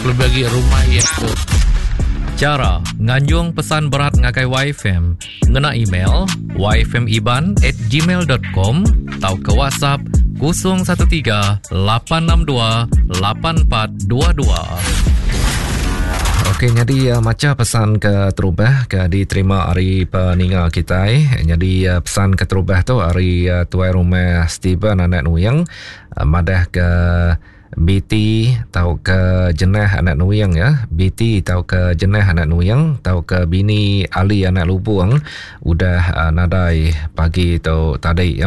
Kelebih agi rumah iya tu. Chara nganjung pesan berat ngagai YFM ngena email yfmiban at gmail dot com tauka WhatsApp 013 862 8422. Okey nyadi uh, macha pesan ke terubah ke diterima ari peninga kitai. Nyadi uh, pesan ke terubah tu ari uh, tuai rumah Steven anak Nuing uh, madah ke BT tauka Jenah anak Nuing ya, BT tauka Jenah anak Nuing tauka bini Ali anak Lubung udah uh, nadai pagi tu tadi ya.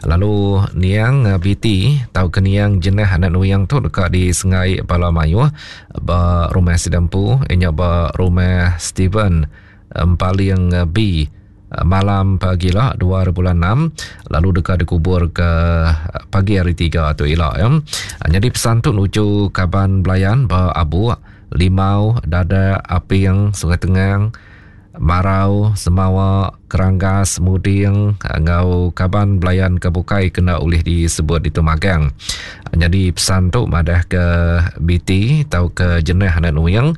Lalu niang uh, BT tauka niang Jenah anak Nuing tu deka disengai bala mayuh ba rumah sida empu inya ba rumah Steven Empaling B malam pagila 2 bulan 6 lalu deka dikubur ke pagi hari 3 tu ila ya. Nyadi pesan tu nuju kaban belayan ba Abuk, Limau, Dadak, Aping, Sungai Tengang, Marau, Semawa, Keranggas, Muding enggau kaban belayan ke bukai kena ulih disebut ditu magang. Nyadi pesan tu madah ke BT tauka Jenah anak Nuing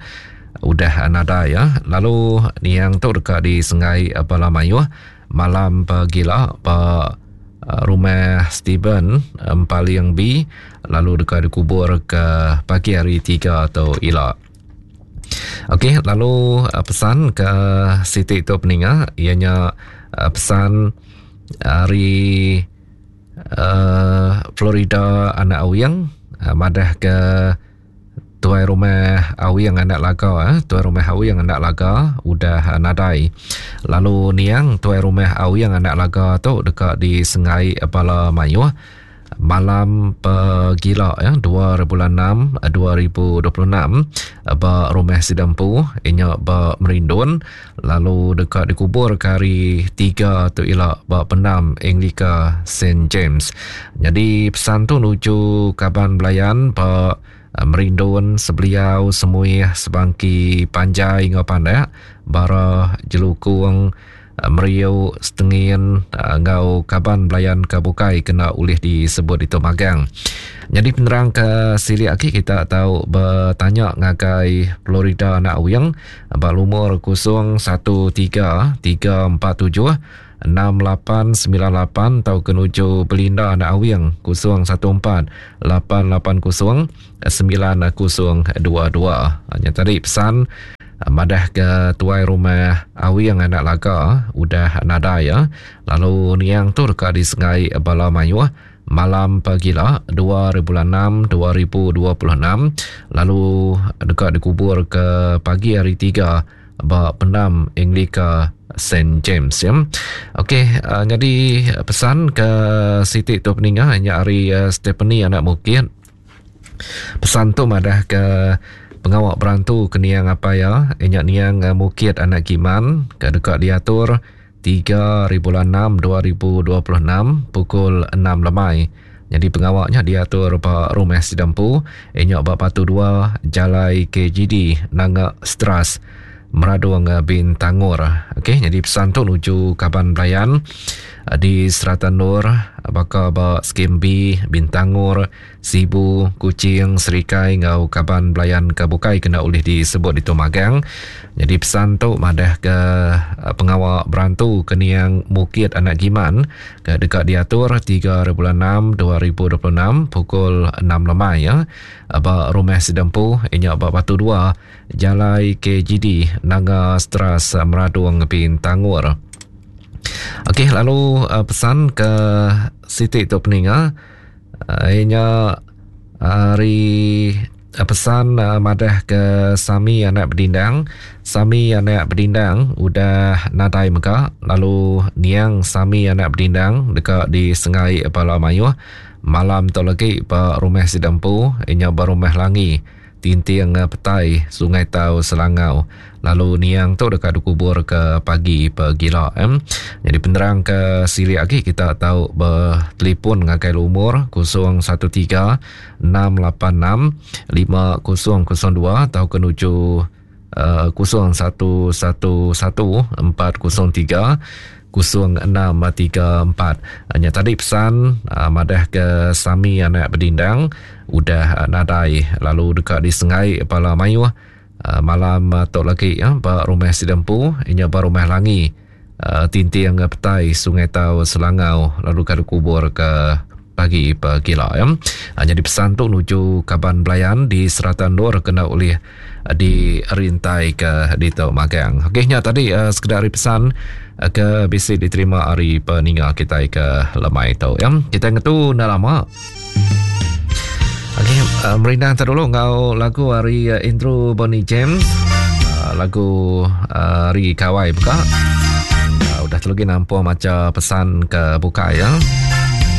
Udah nadai ya. Lalu niang tu deka disenggai bala mayuh malam pagila ba eh, rumah Steven Empaling B lalu deka dikubur ke pagi hari 3 tu ila. Okey, lalu eh, pesan ke siti tu peninga ianya eh, pesan ari uh, Florida anak Awing uh, madah ke Tuai rumah Awing anak Laga eh. Tuai rumah Awing anak Laga udah eh, nadai. Lalu niang tuai rumah Awing anak Laga tu deka disengai bala mayuh malam pegila ya 2 bulan 6 2026 ba rumah sida empu inya ba Merindun lalu deka dikubur ke hari 3 tu ila ba pendam Anglika St James. Nyadi pesan tu nuju kaban belayan ba eh, Merindun, Sebeliau, Semuih, Sebangki, Panjai enggau Pandak, Bara, Jelukung, eh, Meriu, Setengin eh, enggau kaban belayan ke bukai kena ulih disebut ditu magang. Nyadi penerang ke silik agi kita tau betanya ngagai Florida anak Awing ba lumur 013 347 6898 tauka nuju Belinda anak Awing 014 880 9022. Nya tadi pesan madah ke tuai rumah Awing anak Laga udah nadai ya. Lalu niang tu deka disengai bala mayuh malam pagila 2 bulan 6 2026 lalu deka dikubur ke pagi hari 3 ba pendam Anglika Saint James ya. Okey, uh, jadi pesan ke siti tu peninga nya ari uh, Stephanie anak Mukit. Pesan tu madah ke pengawa berantu ke niang apai ya, nya niang uh, Mukit anak Giman ke deka diatur 3 hari bulan 6 2026 pukul 6 lemai. Nyadi pengawa nya diatur ba Rumah Sida Empu, inya ba Batu 2 Jalai KGD Nanga Stras, Meradong Bintangor. Okey, nyadi pesan tu nuju kaban belayan di serata endur baka ba Skim B, Bintangor, Sibu, Kuching, Serikai enggau kaban belayan ke bukai kena ulih disebut ditu magang. Nyadi pesan tu madah ke eh, pengawa berantu ke niang Mukit Anak Giman ke deka diatur 3 hari bulan 6 2026 pukul 6 lemai ya ba rumah sida empu inya ba Batu 2 Jalai KGD Nanga Stras Meradong Bintangor. Okey lalu eh, pesan ke siti tu peninga Iya nya ari pesan madah ke Sami anak Bedindang. Sami anak Bedindang udah nadai mega lalu niang Sami anak Bedindang deka disengai bala mayuh malam tu lagi ba rumah sida empu iya nya ba Rumah Langi. Tinting Petai, Sungai Tau, Selangau. Lalu niang tu deka dikubur ke pagi pegila. Nyadi penerang ke silik agi kita tau betelefon ngagai lumur 013 686 5002 tauka nuju 0111 403. 0634. Nya tadi pesan madah ke Sami anak Bedindang udah nadai lalu deka disengai bala mayuh malam tu lagi ba rumah sida empu inya ba rumah Langi Tinting Petai Sungai Tau Selangau lalu ka dikubur ke pagi pegila ya. Nyadi pesan tu nuju kaban belayan di serata endur kena ulih dirintai ke ditu magang. Okey nya tadi uh, sekedar ari pesan uh, ke bisi diterima ari peninga kitai ke lemai tu ya. Kita ngetu enda lama. Okey, uh, merindang tak dulu ngau lagu ari uh, intro Bonnie James. Uh, lagu uh, ari Kawai buka. Uh, udah terlagi nampung maca pesan ke buka ya.